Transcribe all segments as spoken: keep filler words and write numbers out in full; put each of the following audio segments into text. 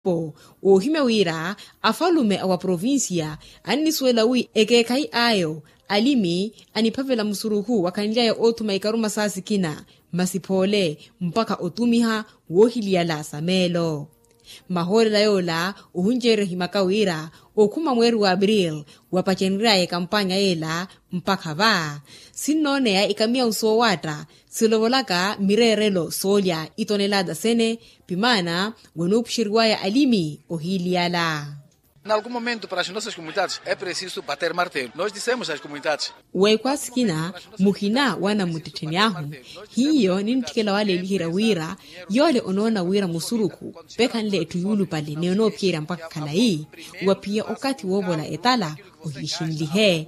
Poo woohimya wira afalume a wa provincia annisuwela wi ekeekhayi ayo alimi aniphavela musurukhu wakhanly'aya oothuma ikaruma saa sikina masi phoole mpakha otumiha woohiliyala sa meelo. Mahoorela yoola ohunceerya ohimaka wira okhuma mweeri wa april wapacenry'aya ekampanya yeela mpakha va sinnooneya ikamiyawu soowaatta silovolaka mireerelo soolya itonelata sene pimaana wanoopuxeriwaya alimi ohiiliyala. N'algum momento para as nossas comunidades é preciso bater martelo nós dissemos as comunidades. Weekwasikina muhina wanamuttettheni ahu hiyo nintthikela waleeliherya wira yoole onoona wira musurukhu pekhanle etthu yuulupale ni onoophiyerya mpakha khalayi waphiya okathi woovola etala ohixinlihe.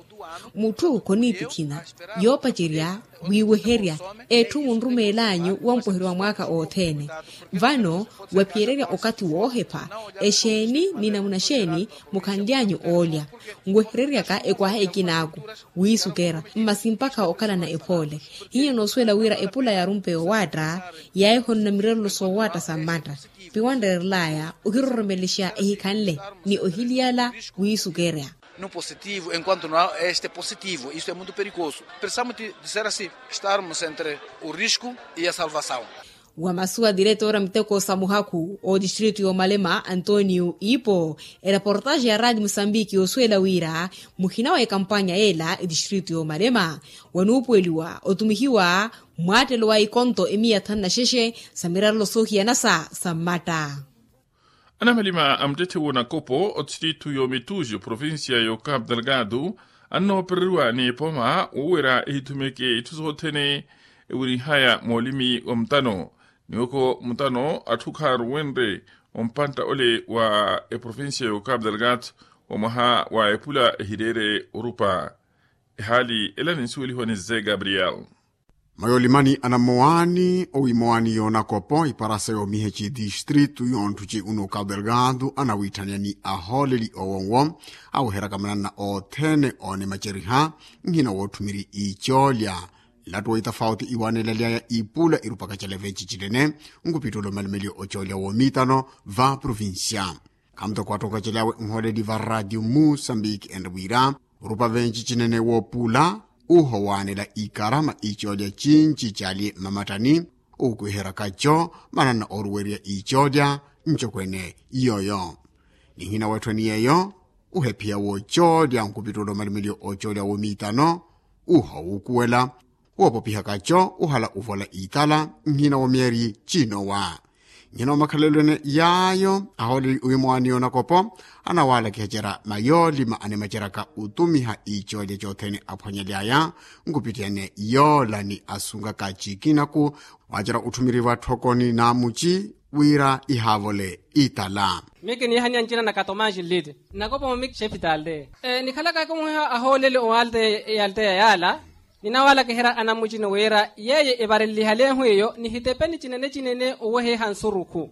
Mutthu khoniitikhina yoopacerya wiiweherya etthu munrumeel'anyu wompweheriwa mwaakha othene. Vano waphiyererya okathi woohepha exeeni ni namuna xeeni mukhanly'anyu oolya nwehereryaka ekwaha ekinaaku wiisukera masi mpakha okhalana ephoole. Hiyo noosuwela wira epula yaarumpe yowaatta yaahihonona mirerelo soowaatta sa mmatta piwanrerel'aya ohiroromelexa ehikhanle ni ohiliyala wiisukerya. No positivo enquanto no este positivo isto é muito perigoso. Precisamos de ser assim estarmos entre o risco e a salvação. Wa masuwa diretora muteko sa muhakhu otistritu y'omalema antonio ipo ereportaxe ya raati musambiki yoosuwela wira muhina wa ekampanya yeela etistritu y'omalema wanuupuweliwa otumihiwa mwaattelo wa ikonto emiya thanu na xexe sa mirarelo soohiyanasa sa mmatta. Anamalima a muttetthe w'onakopo otistritu y'omituxi provincia y'okapu delgado annoopereriwa ni epoma wowerya ehithumeke itthu sothene ewirinhaya moolimi wa mutano niwoko mutano atthu khaaruwenrye ompantta ole wa eprovincia y'okapu delgado wa mwaha wa epula ehireere orupa. Ehaali ela ninsuwelihiwa ni ze gabriel. Mayolimani anammowaani owiimowaani yoonakopo iparasa yoomiha eci distritu yoonthu ci uno okapu delgado anawiitthaniya ni ahooleli owo nwo aweheryaka mananna othene oonimaceriha nhina wootthumiryi iicoolya. Nlattu wa itafauti iwaanelaly'aya iipula irupaka calevenci cinene nkupittulo malumelyo ocoolya woomiitano va provincia. Khamutoko atthu okacelyawe nhooleli va ratio musambiki enre wira orupa venci cinene woopula uho waanela ikarama icoolya cinci cali mmamattani. Uukwiherya kaco mananna ooruwerya icoolya ncokwene yooyo. Nihina weetthwe ni yeeyo uhephiya woocoolya nkupittulo malumelyo ocoolya woomiitano uho wuukuwela woopopiha kaco uhala uvola itala nhina wa miyari cinowa. Nhina wa makhalelwene yaayo ahooleli owiimowaani yoonakopo anawaalakiha cera mayoolima animaceraka utumiha icoolya cothene aphwanyaly'aya nkupittiyane yoola ni asunkaka cikinaku waacera utthumiriwa tthokoni n'amuci wira ihaavole itala. Miki niihaniya ncina na katomanji nliti nnakopo miki xefitalde. Nikhalaka ekumuhiha ahooleli owalteya yalteya yaala. Ninawaalakiherya anamucini wira yeeye evareleliha leehu eyo nihitepeni cinene cinene oweheha nsurukhu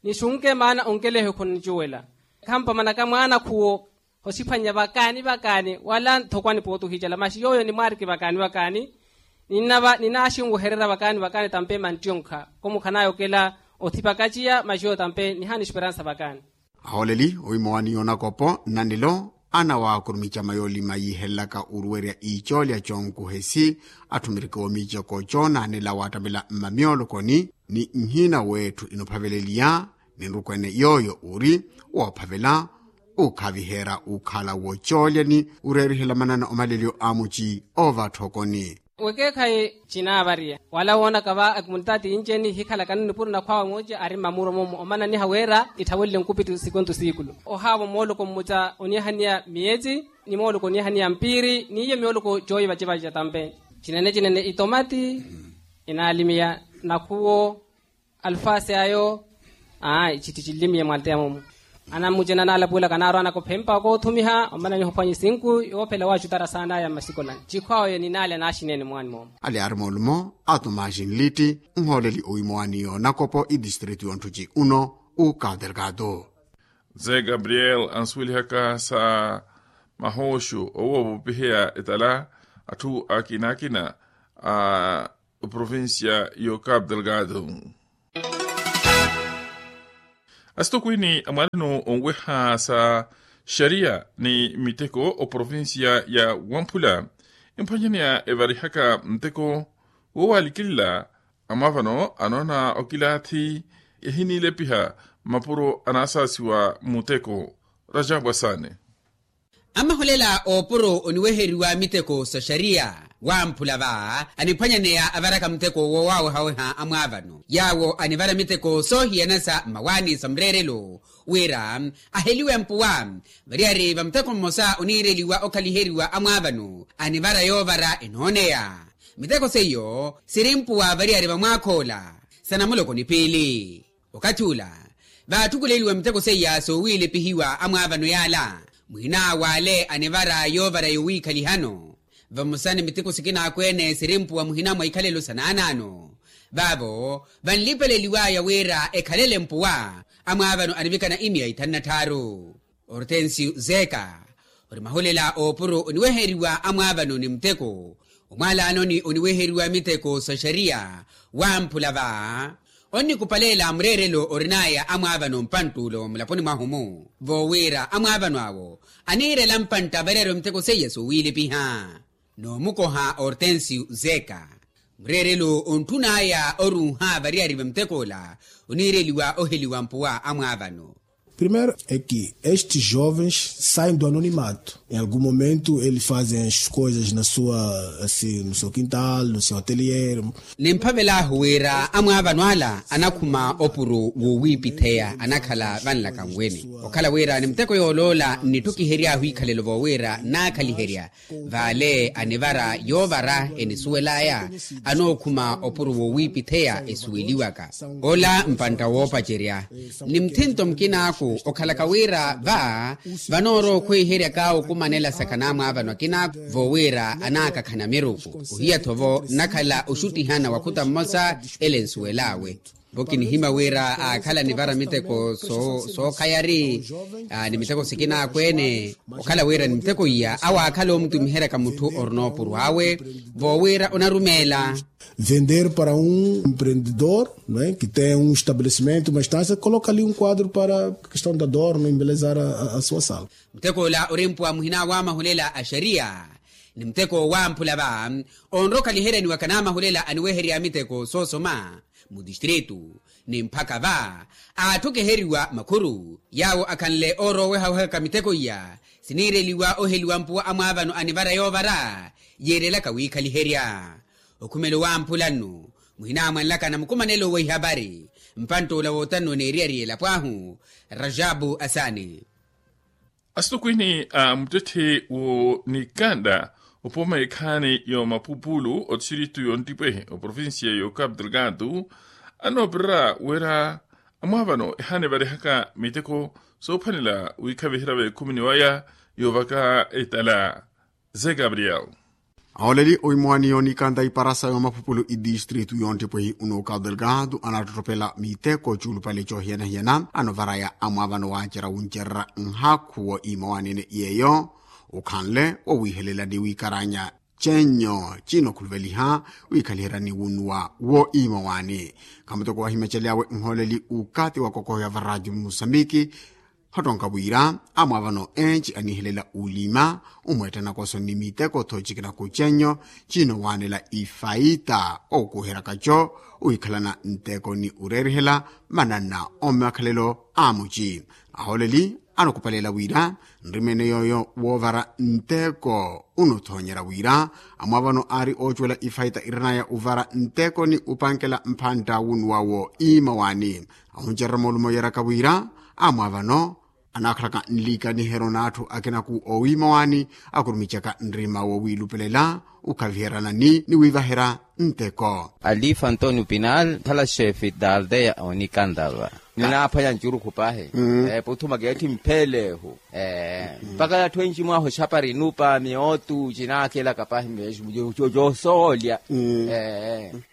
nixunke maana onkelehe khunicuwela. Khampamanaka mwaanakhuwo osiphwanya vakaani vakaani wala nthokwani pootuhicela maxi yooyo nimwaariki vakaani vakaani. Ninava ninaaxinwehererya vakaani vakaani tampe manttiyonkha khumukhanaya okela othipakaciya maxi yooyo tampe nihaana esperansa vakaani. Ahooleli owiimowaani yoonakopo nnanelo anawaakurumica mayoolima yiihelelaka oruwerya iicoolya conkuhesi atthumiriki omiicoko coonaanela waattamela mmamyoolokoni ni nhina w'etthu inophaveleliya ni nrukwene yooyo uri woophavela ukhaviherya ukhala wocoolya ni ureerihela manana omalelyo a muci oova tthokoni. Wekeekhayi cinaavariya wala woonaka va akimulitaati yinceni hikhalakani nipuro nakhwaawe mooce ari mmamuro momo omananiha wira itthawelele nkupittu sikontu siikulu ohaavo mooloko mmuca oniihaniya miyetsi ni mooloko oniihaniya mpiiri n'iyo myooloko cooyivacivaca tampe. Cinene cinene itomati inaalimiya nakhuwo alfaasi ayo. Ayi citti cinlimiye mwalteya mumu. Anammucena naalapuwelaka naarwanaka ophempa okootthumiha omananiha ophwanya esinku yoophela waacutara saanaya mmasikolani cikhwaayo ninaalya naaxineene mwaani moomo. Ali ari moolumo a tomaxi nlitti nhooleli owiimowaani yoonakopo itistritu yonttuci uno ukaterkatu. Ze gabriel ansuwelihaka sa mahooxu owoopopiheya etala atthu akina akina a provincia y'okapu delgado. Asitokwini a mwalano onweha sa xariya ni miteko oprovincia ya wamphula emphwanyaneya evarihaka muteko woowalikilila amwaavano anoona okilaathi ehiniilepiha mapuro anaasaasiwa muteko. Rajabwa saani. Amaholela oopuro oniweheriwa miteko sa xariya wamphula va aniphwanyaneya avaraka muteko woowawehaweha amwaavano yaawo anivara miteko soohiyana sa mmawaani sa mureerelo wira aheliwe mpuwa variyari va muteko mmosa oniireliwa okhaliheriwa amwaavano anivara yoovara enooneya. Miteko seiyo siri mpuwa variyari va mwaakhoola sa namuloko ni piili. Okathi ula vaathukuleliwa miteko seiya soowiilepihiwa amwaavano yaala muhina w'ale anivara yoovara yowiikhalihano. Vamosa ni miteko sikinaakwene siri mpuwa muhina mwa ikhalelo sa naanaano vaavo vanlipeleliwaya wira ekhalele mpuwa amwaavano anivikana imiya ithanu na tthaaru. Ortensio zeka ori maholela oopuro oniweheriwa amwaavano ni muteko omwaalaanoni oniweheriwa miteko sa xariya wamphula va onnikupaleela mureerelo orinaya amwaavano mpantt'ulo mulaponi mwahu-mu voowira amwaavano awo aniirela mpantta variyari va miteko seiya soowiilepiha. Noomukoha ortensio zeka mureerelo ontthun'aya oruuha variyari va mutek'ola oniireliwa oheliwa mpuwa amwaavano. Primeiro é que estes jovens saem do anonimato. Em algum momento eles fazem as coisas na sua, assim, no seu quintal, no seu atelier. Nimphavel'ahu wira amwaavano ala anakhuma opuro woowiipitheya anakhala vanlaka nwene okhala wira ni muteko yooloola nnitthukihery'ahu ikhalelo voowira naakhaliherya vale anivara yoovara enisuwel'aya anookhuma opuro woowiipitheya esuweliwaka ola mpantta woopacerya. Ni muthinto mukinaaku okhalaka wira va vanoorowa okhweiheryaka okumanela sakha n'amwaavano akinaaku voowira anaakakhana miruku ohiya-tho vo nnakhala oxuttihana wa khuta mmosa ele nsuwel'awe. Vo kinihimya wira aakhala nivara miteko sookhayari ni miteko sikinaakwene okhala wira ni miteko iya awo aakhala omutumiheryaka mutthu orina opuro awe voowira onarumeela. Vender para um empreendedor que tem um estabelecimento uma estância coloca ali um quadro para questão da dor no embelezar a sua sala. Muteko ola ori mpuwa muhina w'amahulela a xariya ni muteko wamphula va onrokhaliheryaniwaka n'amahulela aniweherya miteko soosoma mu distritu ni mphaka va aatthukiheriwa makhuru yaawo akhanle oorowehawehaka miteko iya siniireliwa oheliwa mpuwa amwaavano anivara yoovara yiirelaka wiikhaliherya. Okhumelo wamphula nnu muhina mwanlaka na mukumanelo wa ihapari mpantt'ula woottanno n'eriyari y'elapo ahu. Rajabu asaani. Asitokwini a muttetthe w'onikanda opooma ekhaani y'omapupulu otistritu y'ontipwehi oprovincia y'okapu delgado anoopererya wira amwaavano ehaana evarihaka miteko soophwanela wiikhaviherya v'ekhumini waya y'ovaka etala. Ze gabriel. Ahooleli owiimowani y'onikanda iparasa y'omapupulu idistritu y'ontipwehi unookapu delgado anaattottopela miteko cuulupale coohiyana-hiyana anovaraya amwaavano waacerya wuncererya nhakhu woowiimowani-ene yeeyo okhanle wowiihelela ni wiikaranya cenyo cinokhuluveliha wiikhaliheryani wunnuwa woowiimowani. Khamuteko wahimecely'awe nhooleli ukathi wa kokoho ya varadiyo musambiki hattonka wira amwaavano enci aniihelela ulima umweetta nakoso ni miteko tho cikina kucenyo cinowaanela ifaita okuheraka co wikhalana nteko ni ureerihela mananna omakhalelo a muci. Ahooleli anokupaleela wira nrimene yooyo woovara nteko unothonyerya wira amwaavano aari oocuwela ifaita irinaya uvara nteko ni upankela mphantta wunnuwa woowiimowani. Ahuncererya moolumo yeeraka wira amwaavano anaakhalaka nlikaniheryo n'atthu akinaku oowiimowani akurumicaka nrima wowiilupelela ukhaviheryana ni wiivaherya nteko. Alifa antonio pinal khala xefe da aldeya onikandava. Ninaaphwanya ncurukhu pahi. Puthumaka etthi mphelehu mpakha yatthu enci mwaha oxapari nupa miyootu cinaakelaka pahi. Cosoolya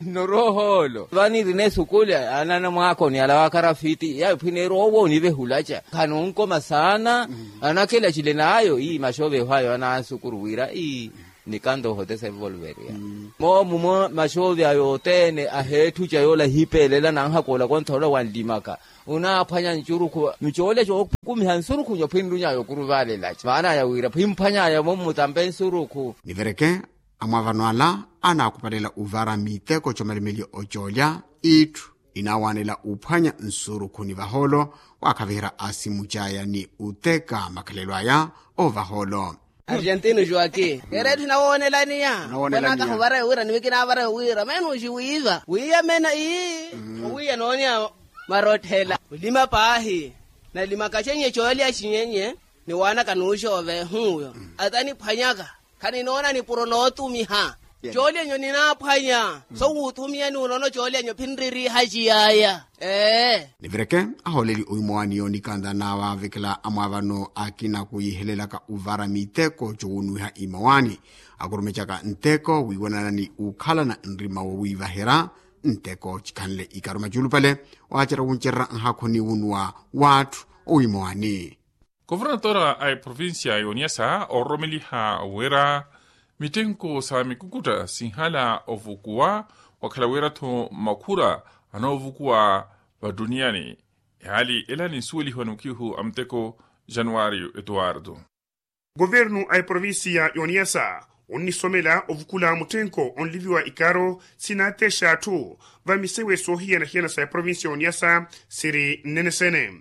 norohoolo vaniirina esukuli anana mwaakoni ala wakarafiti yaphwineerya owo onivehulaca khanonkoma saana. Anakela cile n'ayo ii maxoveho ayo anansukuru wira ii Nikanto ohotesa evolveriya. Moomumo maxoovya yothene aheetthuca yoola ehipeelela nanhakoola kontha ola wanlimaka. Onaaphwanya nsurukhu micoolya cookumiha nsurukhu nyophinrunyayo okuruvaalelaca maanaya wira phwimphwanyaya mommutampe nsurukhu. Nivereke amwaavano ala anaakupalela ovara miteko comelemeliya ocoolya itthu inaawanela ophwanya nsurukhu ni vahoolo waakhaviherya asimu caya ni oteka makhalelo aya. Ovahoolo argentino joaquin eretthu nawoonelaniya. Onakaha ovarayo wira niwikina avarayo wira menuxi wiiva wiyamena ii owiya noonya marotthela olima paahi. Nalimaka xenye coolya xinyenye niwaanaka nuuxoova ehuuyo ataniphwanyaka. Khaninoona nipuro nootumiha coolyanyu ninaaphwanya sowuuthumiyani unoona coolyanyu phinririiha ciyaya. Ee nivireke ahooleli oimowaani yoonikantha naavaavekela amwaavano akina kuyihelelaka ovara miteko cowunuwiha imowaani akurumecaka nteko wiiwanana ni uukhalana nrima wowiivaherya nteko cikhanle ikaro maculupale. Waacerya wuncererya nhaakhu ni wunuwa w'atthu oimowaani. Kofornatora a eprovincia yooniyasa ororomeliha wira mittenko sa mikukutta sinhala ovukuwa wakhala wira-tho makhura anoovukuwa vattuniani. Ehaali ela ninsuwelihiwa ni mukhihu a mutteko januwario etuwarto. Kuvernu a eprovincia yooniyasa onnisomela ovukula mutthenko onliviwa ikaro sinaatexa atthu va misewe soohiyana-hiyana sa eprovincia yooniyasa siri nnene sene.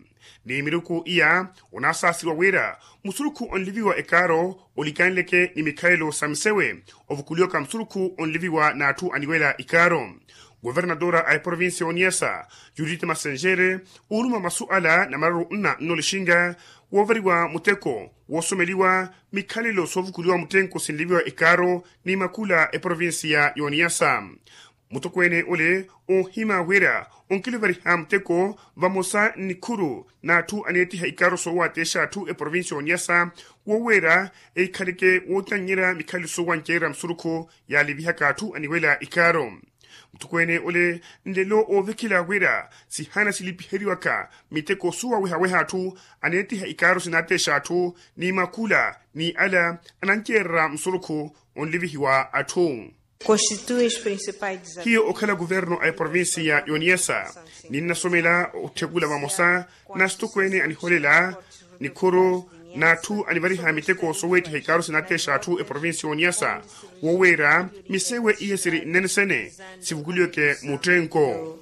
Ni miruku iya onaasaasiwa wira musurukhu onliviwa ekaaro olikanleke ni mikhalelo sa misewe ovukuliwaka musurukhu onliviwa n'atthu aniwela ikaaro. Governadora a eprovincia oniyasa judith masenjere uuluma masu ala na mararu nna nnolixinga woovariwa muteko woosomeliwa mikhalelo soovukuliwa muttenko sinliviwa ikaaro ni makula eprovincia y'oniyasa. Mutokweene ole oohima wira onkilivariha muteko vamosa nnikhuru n'atthu aneettiha ikaaro soowaateexa atthu eprovincia y'oniyasa woweera eikhaleke wootannyerya mikhalelo soowancererya musurukhu yaalivihaka atthu aniwela ikaaro. Mutokweene ole nlelo oovekela wira sihana silipiheriwaka miteko soowawehaweha atthu aneettiha ikaaro sinaateexa atthu ni makula ni ala anancererya musurukhu onlivihiwa atthu. Hiyo okhala kuvernu a eprovincia y'oniyasa ninnasomela otthekula vamosa na sitokweene aniholela nikhuru n'atthu anivariha miteko sooweettiha ikaaro sinaateexa atthu eprovincia y'oniyasa woweera misewe iya siri nnene sene sivukuliweke muttenko.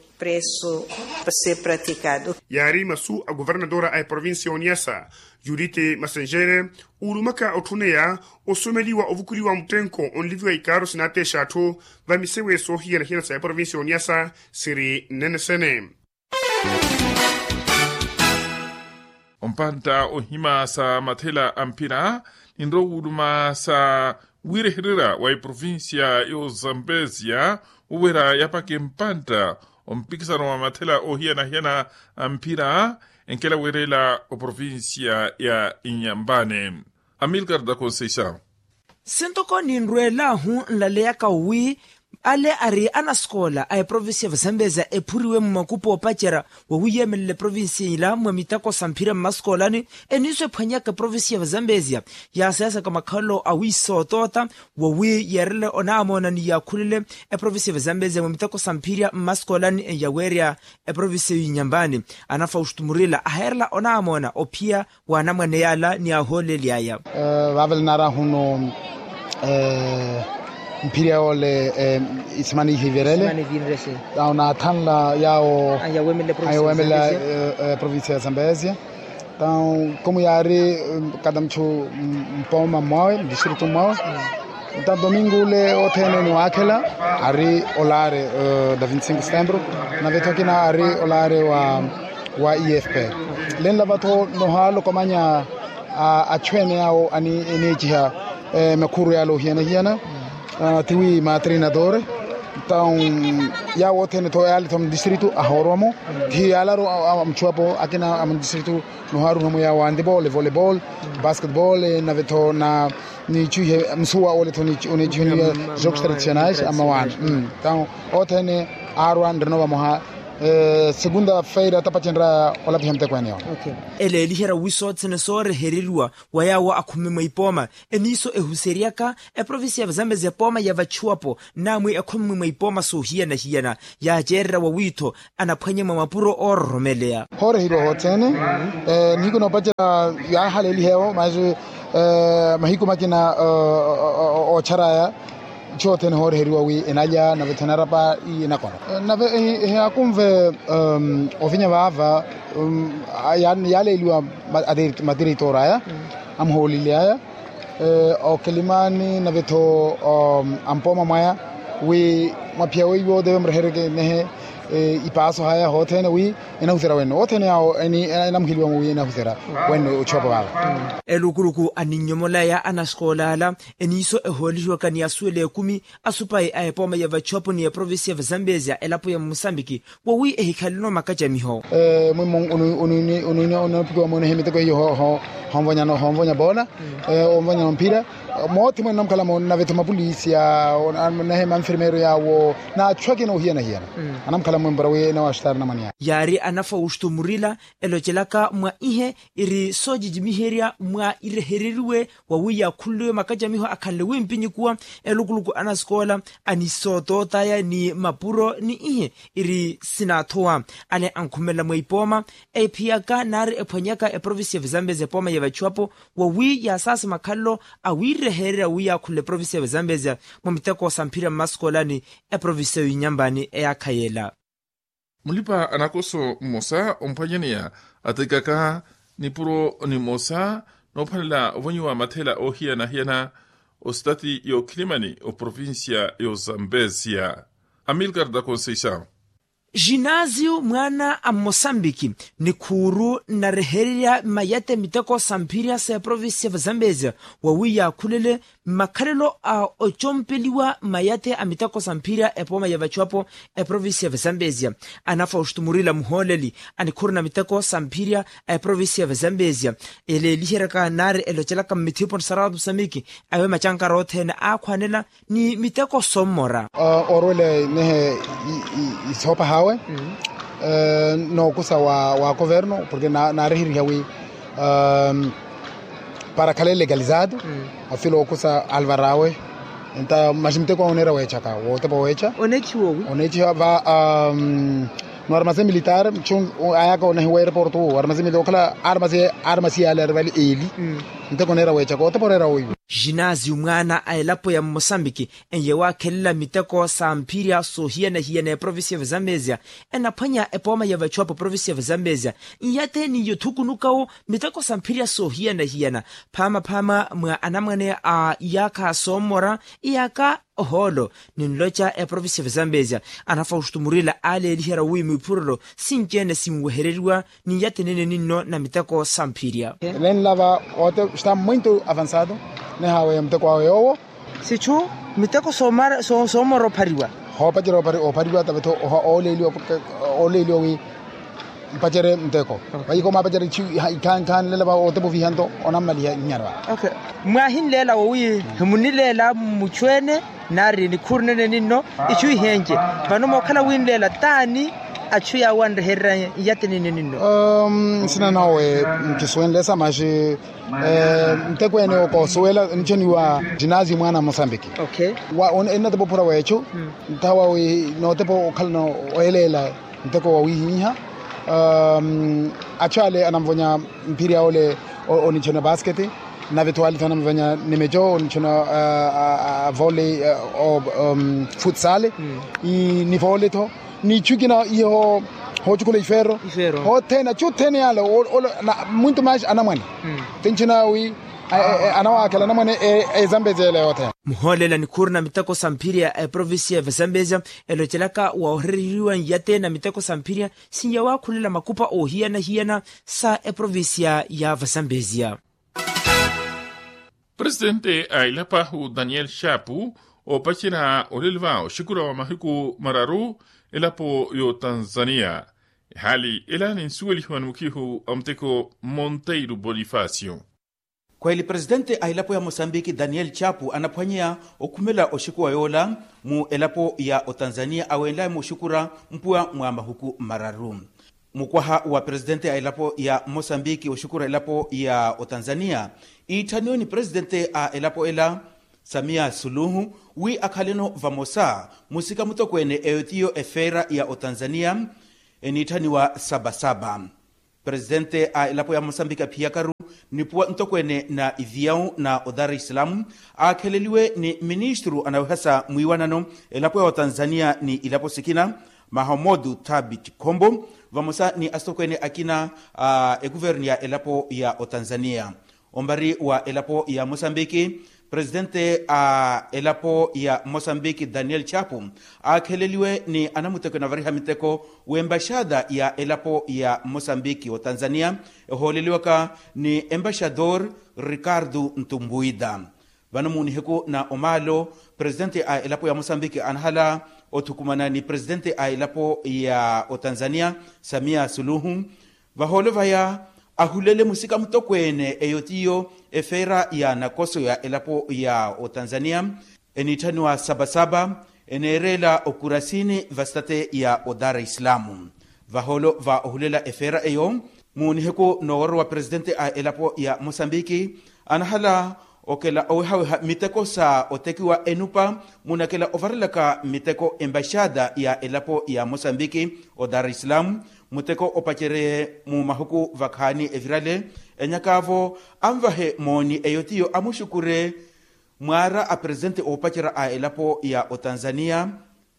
Yaari masu a governadora a eprovincia y'oniyasa judith masenjere uulumaka otthuneya osomeliwa ovukuliwa muttenko onliviwa ikaaro sinaateexa atthu va misewe soohiyana-hiyana sa eprovincia y'oniyasa siri nnene sene. Ompantta ohima sa mathela a mphira ninrowa wuuluma sa wiirehererya wa eprovincia y'ozambesia woweera yapake mpantta ompikisano wa mathela oohiyana-hiyana a mphira enkela weerela oprovincia ya inyampani. Amilcar da conceição. Sintoko ninrweel'ahu nlaleyaka wi ale ari anasikoola a eprovincia ya vazambezia ephuriwe mmakupu oopacerya wowiyeemelela eprovincia ila mwa mitako sa mphira mmasikoolani eniiso ephwanyaka eprovincia ya vazambezia yaasayasaka makhalelo awiisootoota wowi yeerele onaamoona ni yaakhulele eprovincia ya vazambezia mwa mitako sa mphira mmasikoolani eyaweerya eprovincia ya inyampani. Ana fausto murila aheerela onaamoona ophiya w'anamwane yaala ni ahooleli aya. Vaavela naarahuno mphirya yoole isimana ihivirele. Naathanla yaawo aweemela provincia ya zambezia. Ntawu komu yaari kada muchu mpooma mwawe mdistritu mwawe. Ntawu domingo ule othene niwaakhela ari olaare da vinte cinco setembro. Nave tho akina ari olaare wa wa efp. Lenla vatho nohaalokomanya achu ene yaawo eniiciha makhuru yaale ohiyana-hiyana tiwi matrinadore. Ntawu yaawo othene tho yaale tho mdistritu ahoorowamo. Thiyo yaalaru amuchuwapo akina amundistritu nohaaruhamo yaawo handibole volebole basketbole nave tho na niichuhe msuwa ole tho oneechuheniwa jogos tradicionais amawaana. Ntawu othene aarwa nrino vamoha. Segunda feira tapacenraya olaphiha muteko ene yoona. Eleeliherya wi sothene soorehereriwa wa yaawo akhumi mwa ipooma eniiso ehuseryaka eprovincia ya vazambezi epooma ya vachuwapo, namwi ekhumi mwa ipooma soohiyana-hiyana yaaceererya wawiitho anaphwanye mwa mapuro oororomeleya. Hooreheriwa hothene nihiku noopacerya yaahaleeliha ewo masu mahiku makina ootcharaya. Itthu yothene hooreheriwa wi enalya nave-tho enarapa ii enakona. Nave ehaakunve ovinya vaava yaaleeliwa matireitori aya amuhoolile aya okilimani nave-tho ampooma mwaya wi mwaphiya weiwo teve murehereke nehe ipaaso haya hothene wi enahuserya wenno wothene yawo enamuheliwa wi enahuserya wenno ochuwapo vaava. Elukuluku aninnyomolaya anasikoola ala eniiso ehoolihiwaka ni asuwela ekumi asupayi a epooma ya vachuwapo ni eprovincia ya vazambezia elapo ya musambiki wowi ehikhaleno makacamiho. Mwimmo onwini onophikiwa mwenehe miteko hiyo honvonya bola onvonya nomphira moothe mwene namukhalamo nave-tho mapolisi nehe manfirmeero yaawo n'achu akina ohiyana-hiyana anamukhala mwempora wi enawaxutari namwani yaari anafausto murila elocelaka mwa ihe iri soocicimiherya mwa irehereriwe wawi yaakhunliwe makacamiho akhanle wimpinyi kuwa elukuluku anasikoola anisootootaaya ni mapuro ni ihe iri sinaathowa ale ankhumelela mwa ipooma ephiyaka nari ephwanyaka eprovincia ya vazambezia epooma ya vachuwapo wawi yaasaasi makhalelo awiirehererya wi yaakhunle eprovincia ya vazambezia mwa miteko samphirya mmasikoola ni eprovincia ya inyampani eyaakha yeela. Mulipa anakoso mmosa omphwanyaneya atekaka nipuro nimosa noophwanela ovonyiwa mathela oohiyana-hiyana ositati y'okhilimani oprovincia y'ozambesia amilcar da conceição. Ginasio mwaana a mmosambiki nikhuuru nnarehererya mayate miteko samphirya s'eprovincia ya vazambezia wawi yaakhulele mmakhalelo a ocompeliwa mayate a miteko samphirya epooma ya vachuwapo eprovincia ya vazambezia anafausto murila muhooleli a nikhuuru na miteko samphirya a eprovincia ya vazambezia eleeliheryaka nari elocelaka mmithipo ni saratu samiki awe macankara othene aakhwanela ni miteko sommora. Orwele nehe isoopa hawe nookusa wa koverno porke naarihiriha wi para khale legalizado afilo okusa alvarawe nta maxi miteko awo oneera weechaka wootepa weecha oneechiwa wi oneechiwa va no armase militar mchu ayaka onehi wa airport wo armase militar okhala armase armase yale arivali eli miteko oneera weechaka wootepa oreera woiwo. Ginasio mwaana a elapo ya mmosambiki enye waakhelela miteko samphirya soohiyana-hiyana eprovincia ya vazambezia enaphwanya epooma ya vachuwapo provincia ya vazambezia nyate ni yothukunukawo miteko samphirya soohiyana-hiyana phaama-phaama mwa anamwane a iyaakha soommora iyaakha ohoolo ninloca eprovincia ya vazambezia anafausto murila aaleeliherya wi mwiphurelo sinci-ene sinwehereriwa ni nyate nene ninno na miteko samphirya. Nenlava ote está muito avançado nehawe muteko awe yoowo sichu miteko soomora ophariwa hoopacerya ophariwa tavetho ooleeliwa ooleeliwa wi mpacerye muteko vayiko mwaapacerya ikhankhanlela va otepa ovihanto onammaliha nnyarwa. Mwahinleela wowi himunileela mmuchu ene nari nikhuuru nene ninno ichu ihenje vano mookhala winleela taani achu yaawo anrehererya nyate nene ninno. Nsina nawe nkisuwenle samaxi nteko ene okoosuwela nichoniwa ginasio mwaana a mosambiki enatepa ophura weechu nthawa wi nootepa okhalana oyeleela nteko wawihiha achu ale anamvonya mphiri aole onichona basket navetho ale tho anamvonya nimecho onichona vole futsale ni vole tho ni ichu ikina iho hoochukula ifero hothene achu othene yale muntu mashi anamwane tinchina wi anawaakhela anamwane ezambezia ele yothene. Muhoolela nikhuuru na miteko sa mphiri ya eprovincia ya vazambezia elocelaka woohereriwa nyate na miteko sa mphiri sinya waakhulela makupa oohiyana-hiyana sa eprovincia ya vazambezia. Presitente a elapo ahu daniel shapu oopacerya olelo va oxikula wa mahiku mararu elapo y'otanzania. Ehaali ela ninsuwelihiwa ni mukhihu a muteko monteiro bonifacio. Khweeli presidente a elapo ya mosambiki daniel chapu anaphwanyeya okhumela oxukuwa yoola mu elapo ya otanzania awenlaye muxukura mpuwa mwa mahuku mararu. Mukwaha wa presidente a elapo ya mosambiki oxukura elapo ya otanzania iitthaniwe ni presidente a elapo ela samia suluhu wi akhaleno vamosa musika mutokweene eyo tiyo efeera ya otanzania eniitthaniwa sabasaba. Presidente a elapo ya mosambiki aphiyakaru nipuwa ntokweene na iviyawu na odar islam aakheleliwe ni ministru anawehasa mwiiwanano elapo ya otanzania ni ilapo sikina mahamodu thabit khombo vamosa ni asitokweene akina a ekuvernu ya elapo ya otanzania. Ombari wa elapo ya mosambiki presidente a elapo ya mosambiki daniel chapu aakheleliwe ni anamutekwe navariha miteko w'embaxada ya elapo ya mosambiki otanzania ehooleliwaka ni embaxador ricardo ntumbuida. Vano mu nihiku na omaalo presidente a elapo ya mosambiki anahala othukumana ni presidente a elapo ya otanzania samia suluhu vahoolo vaya ahulele musika mutokweene eyo tiyo efeera ya nakoso ya elapo ya otanzania eniitthaniwa sabasaba eneereela okurasini vastate ya odar islamu. Vahoolo va ohulela efeera eyo mu nihiku nooworowa presidente a elapo ya mosambiki anahala okela owehaweha miteko sa otekiwa enupa munakela ovarelaka miteko embaxada ya elapo ya mosambiki odar islam muteko opacereye mu mahuku vakhaani evirale enyakaavo anvahe mooni eyo tiyo amuxukure mwaara a presidente oopacerya a elapo ya otanzania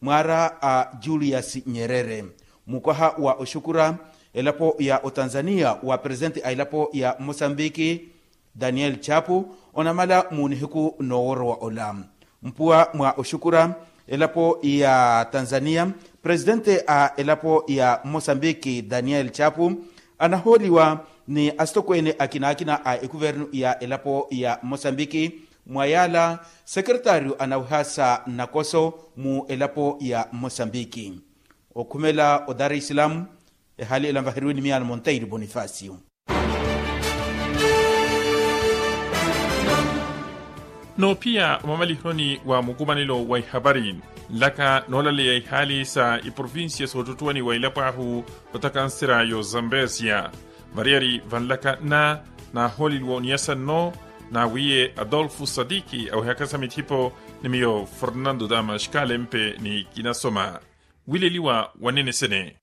mwaara a julius nyerere. Mukwaha wa oxukura elapo ya otanzania wa presidente a elapo ya mosambiki daniel chapu onamala mu nihiku nooworowa ola mpuwa mwa oxukura elapo ya tanzania presidente a elapo ya mosambiki daniel chapu anahooliwa ni asitokweene akinaakina a ekuvernu ya elapo ya mosambiki mwa yaala sekeretaariyo anaweha sa nakoso mu elapo ya mosambiki. Okhumela odar islam ehaali ela nvaheriwe ni miyano monteiri bonifacio. Noophiya omamalihoni wa mukumanelo wa ihapari nlaka noolaleya ihaali sa iprovincia soottuwani wa elapo ahu otakansera yo zambesia variyari vanlaka nna naahooleliwa oniyasa nno naawiye adolfo sadiki awehaka sa mithipo ni miyo fernando damaxkalempe ni kinasoma wileliwa wanene sene.